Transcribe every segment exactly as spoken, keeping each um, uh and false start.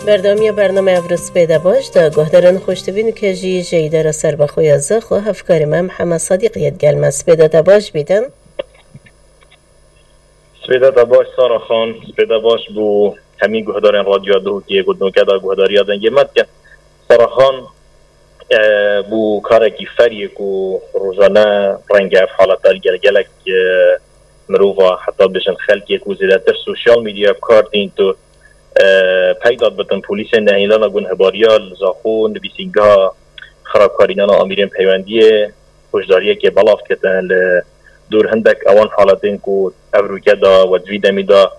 Berdewamiya bernameya Evro Spêde Baş de guhdarên xweşdibîn û ke jî ji îdara serbexwe ya Zaxo hevkarê me Mihemed Sedîq yê digel me. Spêde te baş bîtin. Spêde te baş Sara Xan, spêde baş bû hemî guhdarên Radyoya Duhokê ku di nûke de guhdariya dengê me dikin. Sara Xan, e, bû karekî feriyê ku rojane renge ev haleta li gel gelek, e, mirova, heta bêjin xelkê ku zêdetir sosyal medyaya bi kar tînt û, e, peyda dibitin polîsên nehêlana gunhebariya li Zaxo nivîsîngeha xirabkarînana amîrên peywendiyê hişdariyekê belav dikitin li dûr hindek ewan haletên ku ev rûke da we di vî demî da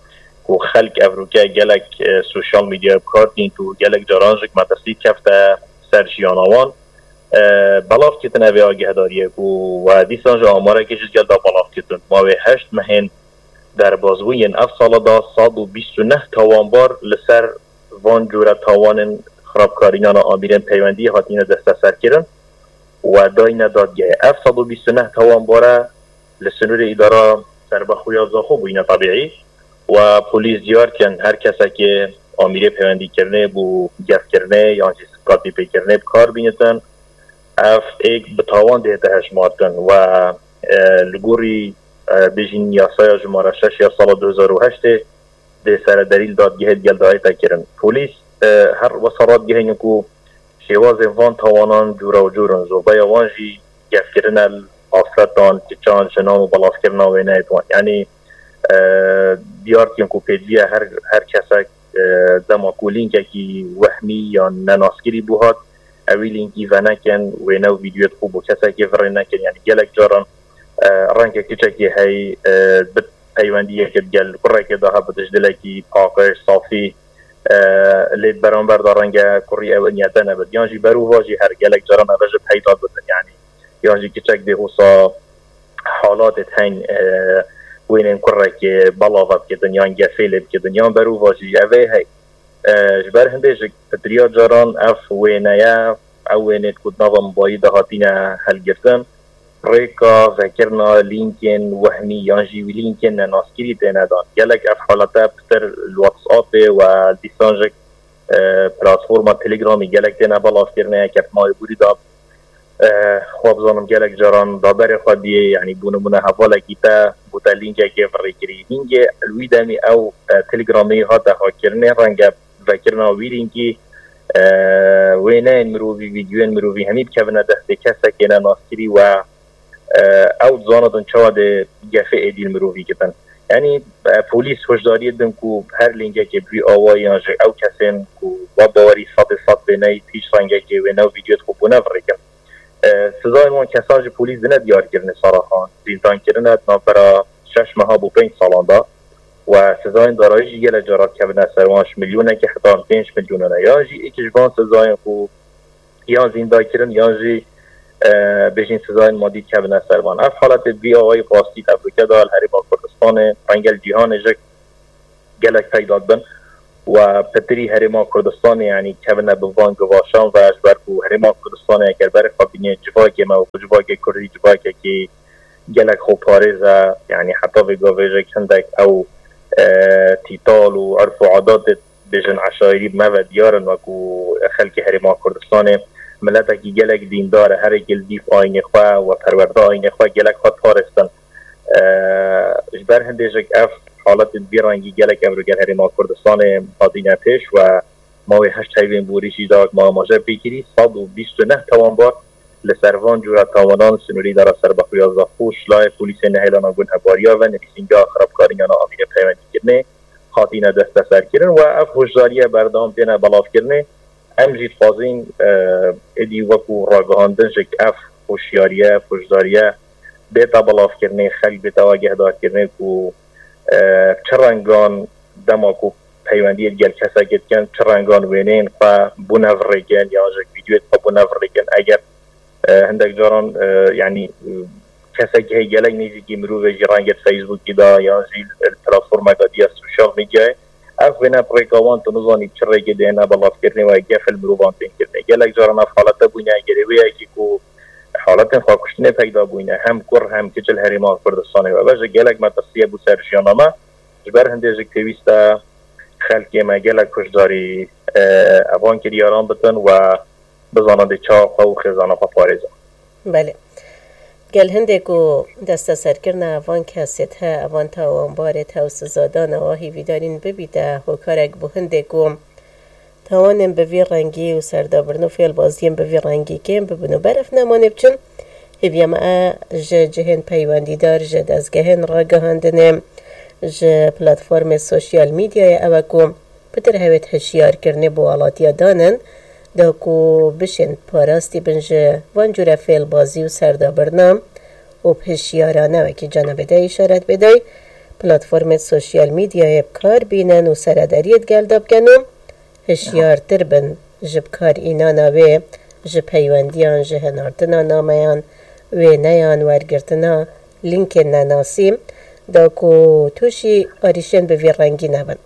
ku xelk ev rûke gelek, e, sosyal medyaya bi kar tînt û gelek caran jî metirsî kefte ser jiyana wan. E, belav dikitin ev ê agihdariyê ku we dîsan ji amarekê ji gel da belav dikitin. Ma wê heşt mehên derbazbûyên ev sala da sed û bîst û neh tawanbar li ser van cûre tawanên xirabkarînana amîrên peywendiyê hatine desteserkirin û dayne dadgehê. Ev sed û bîst û neh tawanbare li sinûrê îdara serbexwe ya Zaxo bûyne tebîî û polîs diyar dikin her kesekê amîrê peywendîkirinê bû gefkirinê yan jî skatîpêkirinê bi kar bînitin. Ev êk bi tawan dihête hejmartin û, e, li gorî, e, bêjin yasaya jimara şeş ya sala du hezar û heştê dê seredarî li dadgehê digel dayête kirin. Polîs, e, her wesa radigihînin ku şêwazên van tawanan cûra û cûr in. Zirveya wan jî gefkirine li afretan, kiçan, jinan û belavkirina wêneyê wan. Yanî, e, diyar dikin ku pêdiviya her, her kesek, e, dema ku lînkekî wehmî yan nenaskirî bû hat, ew wî lînkî venekin, wêne û vîdyoyê xwe bo kesekê virê nekin. Yanî gelek caran, e, renge kiçekê hey, e, bi peywendiyeke digel kurekê de hebe di ji dilekî paqij, safî, e, lê beramber de renge kurî ew niyete nebit. Yan jî berûva jî her gelek caran ev ji peyda dibin. Yanî yan jî kiçek dê hosa halatê heng, e, wênên kurekê belava bikitin yan gefê lê bikitin yan berûva jî ev ê hey. E, ji ber hindê ji pitiriya caran ev wêneye, ew wênê ku di nava mobayî de hatine helgirtin, rêka vekirina lînkên wehmî yan jî wî lînkên nenaskirî têne dan. Gelek ev halete pitir li WhatsAppê û dîsan jî, e, platforma Telegramê gelek têne belavkirinê, yeke bi navê Bûrî da, e, xwe bizanim gelek caran da berê xwe diyê, yanî bû nimûne hevalekî te bû te lînkekê virêkirî. Lînkê li wî demî ew, e, Telegramê hate hakkirinê, renge vekirina wî lînkî, e, wêneyên mirovî, vîdyoyên mirovî hemî bikevine destê kesekê nenaskirî we, e, ew dizanibin çawa dê gefê êdî li mirovî kitin. Yanî, e, polîs hişdariyê din ku her lînkekê bi vî awayî yan jî ew kesên ku we bawerî sedê sed wêneyî hiç rengekê wêne û vîdyoyê xwe bûne virêkin. E, sizayên wan kesan ji polîs dine diyar kirine Sara Xan. Zîndankirine di navbera şeş meha bo pênc salan de. Û sizayên darayî jî gelek cara dikevine ser wan, ji milyonekê heta pênc milyonan e. Yan jî êk ji van sizayên ku yan zîndakirin yan jî, e, bêjin sizayên madî dikevine ser wan. Ev haletê bi vî awayî rastî tehlûke da li Herêma Kurdistanê, renge li cîhanê jî gelek peyda dibin. Û pitirî Herêma Kurdistanê, yanî kevine bi van givaşan ve, ji ber ku Herêma Kurdistanê eger berê xwe bînê civakê me û civakê Kurdî civakekî gelek xweparêz e, yanî heta vê gavê jî hindek ew, e, tîtal û erf û adatê bêjin eşayirî me ve diyar in, wekû xelkê Herêma Kurdistanê miletekî gelek dîndar e, herêkî li dîv ayînê xwe we perwerde ayînê xwe gelek xwe parêstin. E, ji ber hindê jî ev haletên vî rengî gelek ev li gel Herêma Kurdistanê hatine pêş we ma wê heşt heyvên borî jî da ma amaje pê kirî, sed û bîst û neh tawanbar li ser van cûra tawanan li sinûrê îdara serbexwe ya Zaxo, şilayê polîsên nehêlana gunhebariya ve nivîsîngeha xirabkarînana amîrê peywendîkirinê hatine desteserkirin û ev hişdariye berdewam têne belavkirinê. Em jî dixwazin, e, êdî wekû ragihandin jî ev hişyariye, ev hişdariye bête belavkirinê, xelk bête agehdarkirinê ku, e, çi rengan dema ku peywendiyê digel kesekê dikin, çi rengan wêneyên xwe bûne virêkin yan jî vîdyoyê xwe bûne virêkin. Eger, e, hindek caran, e, yanî, e, kesekî heye gelek nêzîkî mirovê jî renge di Facebookî de yan jî li platformeke diya sosyal medyayê, ev wêne bi rêka wan tu nizanî bi çi rêkê dêne belavkirinê û gef li mirovan tên kirinê. Gelek caran ev halete bûne, egerê wê yekî ku haletên xwekuştinê peyda bûne, hem kur hem kiç li Herêma Kurdistanê ve. Ve ji gelek metirsiye bû ser jiyana me. Ji ber hindê jî pêwîst e xelkê me gelek hişdarî, e, evan kiryaran bitin we bizanin dê çawa xwe û xêzana xwe parêzin. Belê. Gel hindê ku desteserkirina evan kesê dihe, evan tawanbarê dihe û sizadana wa hîvîdarîn bibîte hokarek bo hindê ku tawanên bi vî rengî û serdabirno fêlbaziyên bi vî rengî kêm bibin û beref nemanê biçin. Hêviya me e ji cihên peywendîdar, ji dezgehên ragihandinê, ji platformê sosyal medyayê ew e ku pitir hewêt hişyarkirinê bo alatiya danin, da ku bişên parastî bin ji van cûre fêlbazî û serdabirna û bi hişyarane wekî cenabê de îşaret bêdey, platformê sosyal medyayê bi kar bînin û seredariyê digel de bikin û hişyartir bin ji bi kar înana wê ji peywendiyan, ji hinartina nameyan, wêneyan, wergirtina lînkên nenasî, da ku tûşî arîşên bi vî rengî nebin.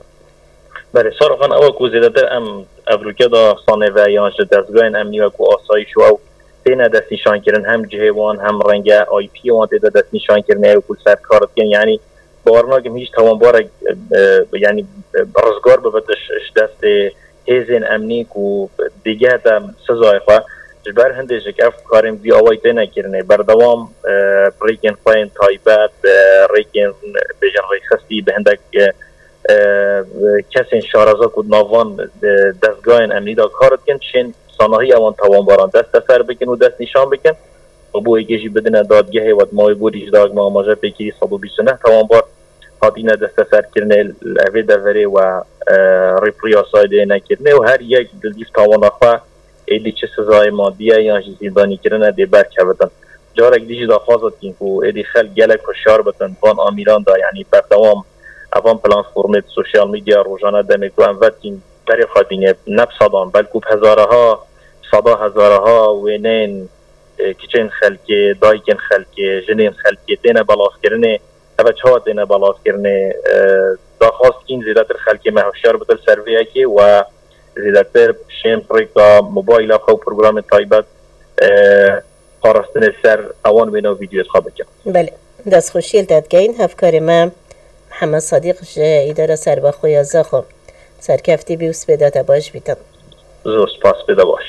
Belê, Saroxan, ew ku zêdetir em evroke da xanê ve yan ji dezgahên emnî wek ku asayîş û ew têne destnîşankirin, hem cihê wan hem renge I P'yê wan tê de destnîşankirinê ew ku li ser kar dikin, yanî bawer nakim hîç tawanbarek, e, e, yanî, e, rizgar bibit ji, ji destê hêzên emnî ku dêgehte sizayê xwe. Ji ber hindê jik ev karên vî awayî têne kirinê. Berdewam, e, bi rêkên xwe yên taybet, bi rêkên, bêjin rêxistî, bi hindek, e, e, kesên şareza ku di nav van, e, dezgahên emnî de kar dikin, çên sanahî ewan tawanbaran desteser bikin û destnîşan bikin. Û bo yekê jî bidine dadgehê, wek ma wê borî ji dagma amaje pêkirî sed û bîst û neh tawanbar hatine desteserkirinê, li evê deverê we, e, rêpirî yasayê dê nekirinê û her yek di dîv tawana xwe êdî çi sizayê madî ye yan jî zîndanîkirin e dê berkevitin. Carek dî jî daxwaza dikîn ku êdî xelk gelek hişyar bitin van amîran de, yanî berdewam evan platformê di sosyal medya rojane demê ku em vedikîn berê xwe dînê ne bi sedan belkû bi hezaraha, sada hezaraha wêneyên, e, kiçên xelkê, dayikên xelkê, jinên xelkê têne belavkirinê. Ev çawa têne belavkirinê? E, daxwaz dikîn zêdetir xelkê me hişyar bitin ser vê yekê we zêdetir şên bi rêka mobayla xwe û programên taybet, e, parastinê ser ewan wêne û vîdyoyê xwe bikin. Belê. Destxweşiyê li te dikeyin hevkarê me Mihemed Sedîq ji Îdara Serbixwe ya Zaxo. Serkeftî bî û spêda te baş bîtin. Zor spas, spêda baş.